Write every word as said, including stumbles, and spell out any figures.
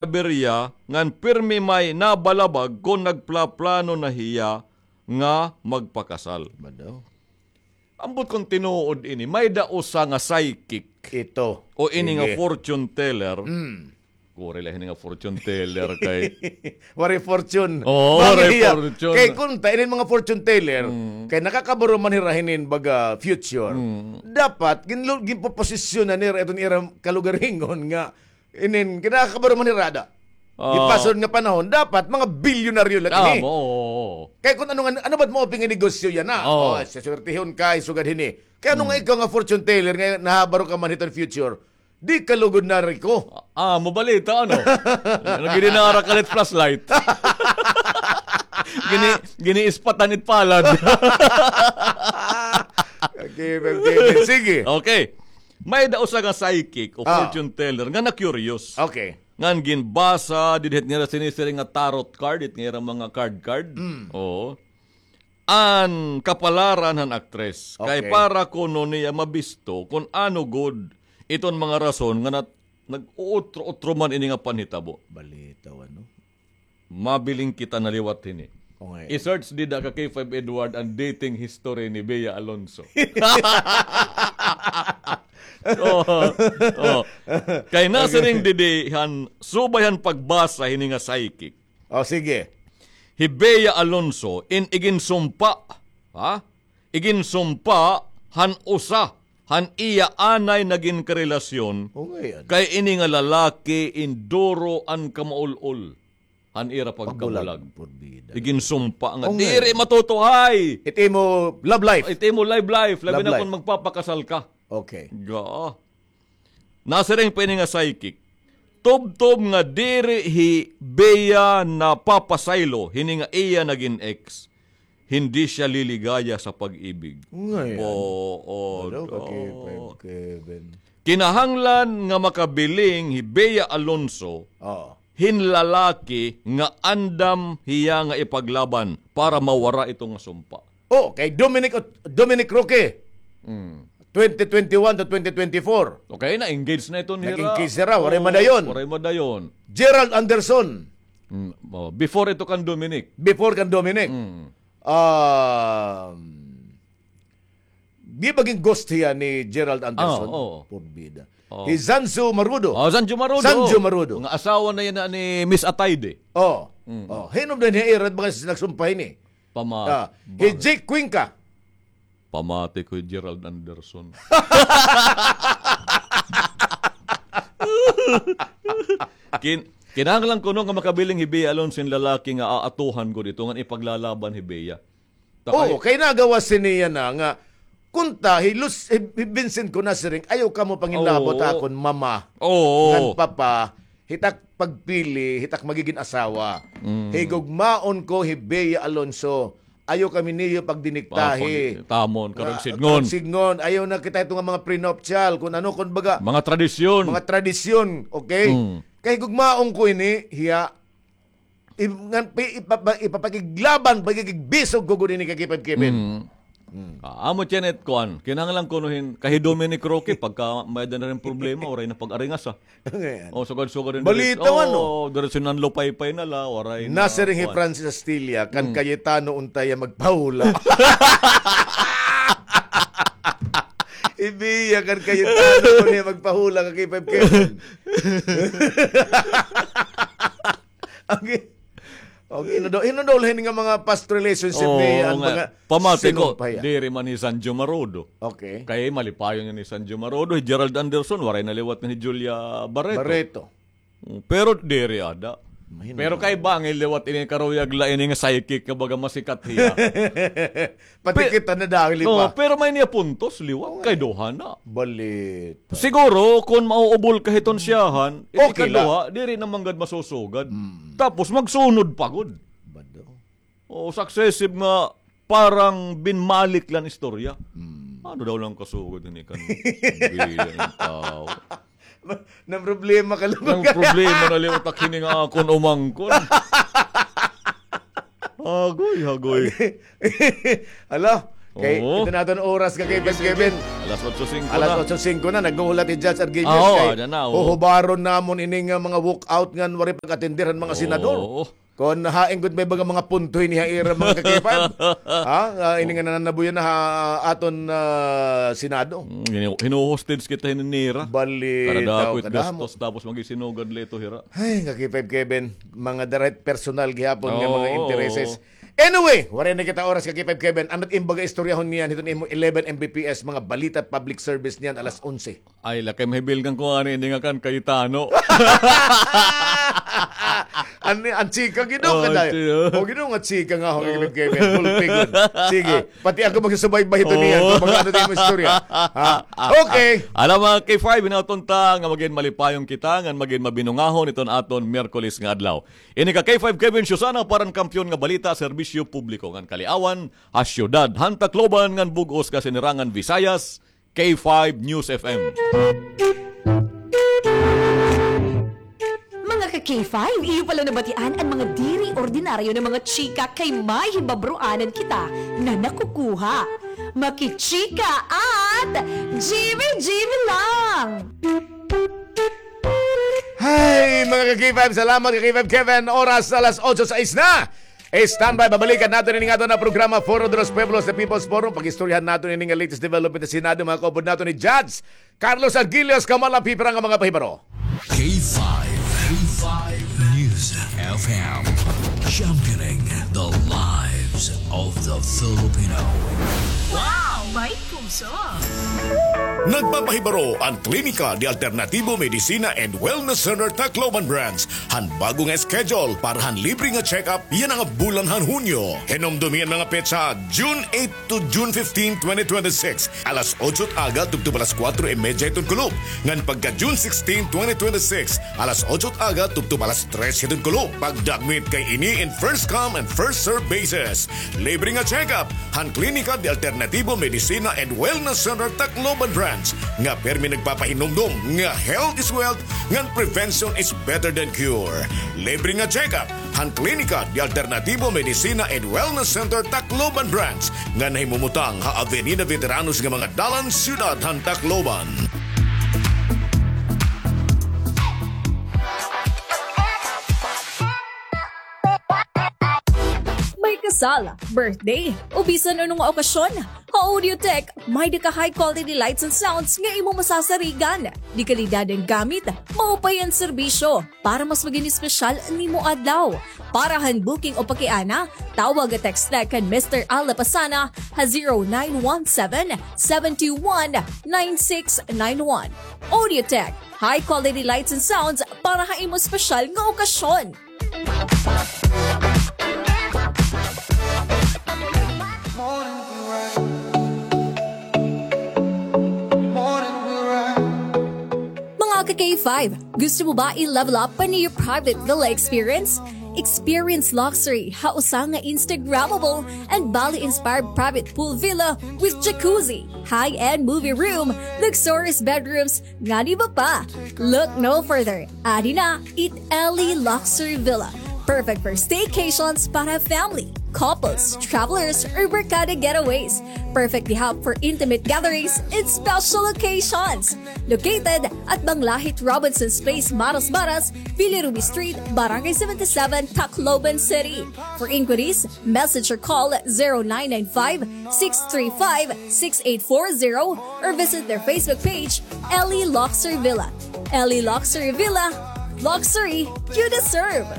Birya ngan pirmi may nabalabag kon nagplaplano na hiya nga magpakasal. Ba daw? Ambot kon tinuod ini, may-ada usa nga psychic. Ito. O ini nga fortune teller. Mm. Kuri la ini nga fortune teller kay waray fortune. Oo, waray fortune. Kay kunta, inin mga fortune teller, kay nakakabaro man hira hinin baga future. Mm. Dapat, ginlu-, ginpoposisyonan nira iton ira kalugaringon nga inin, kinakabaro man hira ada. Ah. Gipasunod nga panahon, dapat mga bilyonaryo la ini. Tama, oo, oo. Kay kun ano nga, ano ba't mo pinginegosyo yana? Oo. Oh, saswertehon ka, sugad hini. Kay ano nga ikaw nga fortune teller nga nahabaro ka man hiton future? Di ka lugod na riko. Ah, mabalita, ano? Nagidinara ka lit flashlight. Gini, giniispatan it palad. Okay, okay, sige. Okay. May-ada usa nga psychic o fortune teller nga na-curious. Okay. Ngan ginbasa, didhit nira sinisiring nga tarot card, it nga ira mga card-card. Mm. Oo. An kapalaran han aktres. Kay para kuno niya mabisto kun ano gud iton mga rason nga nat-, nag-uutro-utro man ini nga panhitabo. Balitaw, ano? Mabiling kita na liwat hini. Okay. I-search dida ka K five Edward an dating history ni Bea Alonzo. Oh, oh. Kay nasiring didi han subay han pagbasa hini nga psychic. Oh, sige. Hi Bea Alonzo in iginsumpa, ha? Iginsumpa han usa han iya anay na ginkarelasyon, kay ini nga lalaki in duro an kamaul-ol han ira pagkabulag. Iginsumpa nga diri matutuhay it imo love life. It imo love life, labi na kon magpapakasal ka. Okay. Ga. Nasiring pa ini nga psychic. Tubtob nga diri hi Bea napapasaylo hini nga iya nagin ex, hindi siya liligaya sa pag-ibig. Ngayon. Oo. Kinahanglan nga makabiling hi Bea Alonzo hin lalaki nga andam hiya nga ipaglaban para mawara ito nga sumpa. Oh, kay Dominic Ot-, Dominic Roque. Mm. Twenty twenty-one to twenty twenty-four. Okay, na-engage na ito nira. Nag-engage nira, waray madayon. Waray madayon. Gerald Anderson. Mm, oh, before ito kan Dominic. Before kan Dominic. Mm. Um, di ba gin-ghost hiya ni Gerald Anderson? Ah, oo. Porbida. Oh. Hi Zanjo Marudo. Oh, Zanjo Marudo. Zanjo Marudo. Nga asawa na yana ni Miss Atayde. Oh. Mm. Oh, hinubdan hiya ira baga nagsumpa hini. Pama-, ah, hi Jake Cuenca. Pamati ko hi Gerald Anderson. Kin-, kinahanglan kuno nga makabiling hi Bea Alonzo hin lalaki nga aatuhan gud ito ngan ipaglalaban hi Bea. Oo, kay nagawas hini yana nga kunta, hi Lus-, hi, hi Vincent ko nasiring, ayaw kamo panginlabot ha akon mama ngan papa. Hit ak pagpili, hit ak magigin asawa. Mm. Higugmaon ko hi Bea Alonzo. Ayaw kami niyo pagdiniktahi. Tamon, karagsidngon. Karagsidngon. Ayaw na kita ito nga mga prenuptial, kun ano, kun baga. Mga tradisyon. Mga tradisyon, okay? Mm. Kay higugmaon ko ini, hiya, i-, ngan, pi-, ipapa-, ipapakiglaban, pakikigbisog ko gud ini kay Kevin. Mm. Mm. Ah, amo tiyan it kuan. Kinahanglan kuno hin, kay hi Dominic Roque, pagka may-ada na rin problema, waray na pag-aringasa. Ngayon. Oh, sugad-sugad rin. Balita, ano? Oh, diretso nan lupaypay na la, waray na. Nasiring hi Francis Astilla, kan Cayetano unta hiya magpahula. Hi Bea, kan Cayetano unta hiya magpahula, ka K five Kevin. Okay. Okay, hinudol, hinudol hin nga mga past relationship ni, ano, mga pamati ko, diri man hi Sanjo Marudo. Okay. Kay malipayon nga ni Sanjo Marudo, hi Gerald Anderson, waray na liwat ni Julia Barreto. Barreto. Mm, pero diri ada. Pero kay bangin liwat ini karuyag la ini nga psychic nga baga masikat hiya. Pati kita na dahil iba. Pero may niya puntos, liwat kay duha na. Balita. Siguro, kun mauubol ka hiton siyahan, ikaduha, diri na man gad masusugad. Mm. Tapos, magsunod pa gud. Bado. O, successive nga, parang binmalik lang istorya. Mm. Ano daw lang kasugad ini kan biya ng tao? Nan problema ka lang. Nan problema na liwat ak hini nga akon umangkon. Hagoy, hagoy. Hala, Kay, oo, ito na aton oras ka kay Kevin. Alas otso singko na. Alas otso singko na, naghuhulat hi Judge Argilius. Ah, oo, kay ada na, oo. Huhubaron namon ini nga mga walkout ngan waray pag-atender han mga senador. Oo. Kon hain gud may baga mga punto ini ha ira mga ka-K five. Ha? Ah, ini nga nananabuyan na ha aton, ah, Senado. Mm, hinu-, hinuhostage kita hini nira. Balitaw. Kada dako it kadamo. Gastos, tapos magisinugad la ito hira. Ay, ka-K five Kevin, mga direct personal gihapon nga mga, oo, intereses. Anyway, waray na kita oras ka-K five Kevin. Ano it im baga istoryahon niyan hiton imo eleven M B P S, mga balita at public service niyan alas onse? Ay, lakay mahibilgan ko ani ini nga kan Cayetano. An, an chika, Ginoo, oh, ka, day. Chika. O, Ginoo nga chika nga, oh, Kevin, Kevin. Full figure. Sige, pati ako magsusubaybay ito niyan. Oh. Kung mga ano din mo istorya. Ha? Okay. Alam, mga K five, hinaot unta nga magin malipayong kita, ngan magin mabinungahon iton aton Miyerkules nga adlaw. Ini ka K five Kevin Susana para han kampiyon nga balita, serbisyo publiko ngan kaliawan ha siyudad han Tacloban ngan bug-os nga sinirangan Visayas, K five News F M. Mga ka K five, iyo pala nabatian an mga diri ordinaryo nga mga chika kay may hibabroanan kita nga nakukuha. Makichika at G B G B lang! Hay, mga ka-K five, salamat ka-K five Kevin. Oras alas otso sais na. Standby, babalikan naton ini nga aton nga programa, Foro de los Pueblos, the People's Forum. Pag-istoryahan naton ini nga latest development sa Senado, mga kaupod naton ni Judge Carlos Argilius, kamalapipira nga mga pahibaro. K five, K five News F M, championing the lives of the Filipino. Wow! May puso! Nagpapahibaro an Klinika de Alternativo Medicina and Wellness Center Tacloban Branch han bag-o nga schedule para han libre nga check-up yana nga bulan han Hunyo. Hinumdomi an mga petsa, June eight to June fifteen, twenty twenty-six, alas otso it aga tubtob alas kuwatro y medya hiton kulop. Ngan pagka June sixteen, twenty twenty-six, alas otso it aga tubtob alas tres hiton kulop. Pagdagmit kay ini in first come and first serve basis. Libre nga check-up han Klinika de Alternativo Medicina and Wellness Center Tacloban Branch nga pirmi nagpapahinumdom nga health is wealth ngan prevention is better than cure. Libre nga check-up han Klinika de Alternativo Medicina and Wellness Center Tacloban Branch nga nahimumutang ha Avenida Veteranos nga mga dalan, siyudad han Tacloban. May kasal, birthday, o bisan ano nga okasyon, ha Audiotech, may-ada ka high quality lights and sounds nga imo masasarigan. Dekalidad an gamit, maupay an serbisyo, para mas magin espesyal an imo adlaw. Para han booking o pakiana, tawag o text na kan Mister Al Lapasana ha zero nine one seven, seven two one, nine six nine one. Audiotech, high quality lights and sounds para ha imo espesyal nga okasyon. Mga ka-K five, gusto mo ba i-level up pa an iyo private villa experience? Experience luxury ha usa nga Instagrammable and Bali-inspired private pool villa with jacuzzi, high-end movie room, luxurious bedrooms, ngan iba pa. Look no further. Adi na it Ellie Luxury Villa. Perfect for staycations para family, couples, travelers, or barkada getaways. Perfect gihap for intimate gatherings and special occasions. Located at Banglahit Robinson's Place, Maras Maras, Villa Ruby Street, Barangay seventy-seven, Tacloban City. For inquiries, message or call zero nine nine five, six three five, six eight four zero or visit their Facebook page, Ellie Luxury Villa. Ellie Luxury Villa, luxury you deserve.